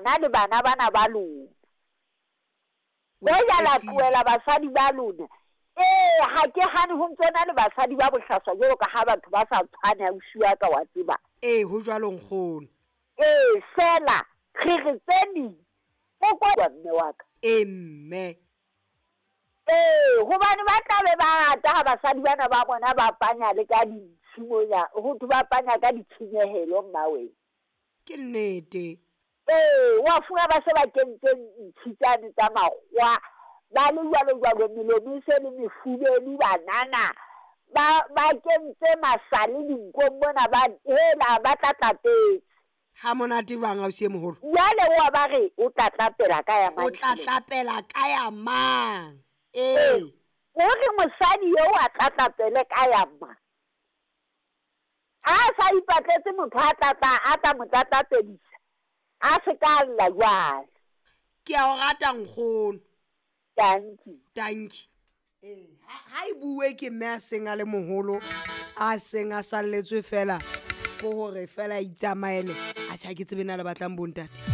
bana le bana bana ba lona. O e Hoja la qetile. tlohela basadi ba lona. Ee, ha ke hane ho ntso na le basadi ba bohlaswa jwalo ka ha batho ba sa tshwane ausi wa ka wa tseba. Ee, ho jwalo nkgono. Ee, fela re re tse ding o kwa mme wa ka. Ee mme. Ee, hobane ba tla be ba rata ha basadi bana ba bona ba panya le ka dintshi mona, ho thwe ba panya ka ditshenyehelo mma wena. Ke nnete. Ee, wa fumana ba se ba kentse ntshi tsane tsa makgowa, ba le jwalo jwalo, melomo e se le mefubelu banana, ba ba kentse masale dinkong mona ba hela ba tlatlapetse. Ha monate jwang ausi e moholo? Jwale wa ba re o tlatlapela ka ya mang? O tlatlapela ka ya mang? Ee. O re mosadi eo a tlatlapele ka ya mang? Ha a sa ipatletse motho a tlatla a tla mo tlatlapedisa, a se ka lla jwale. Ke a o rata nkgono. Dankie. Dankie. Ee, ha e bue ke mme a seng a le moholo, a seng a salletswe fela ko hore fela a itsamaele. Atjhe, ha ke tsebe na le batlang bontate.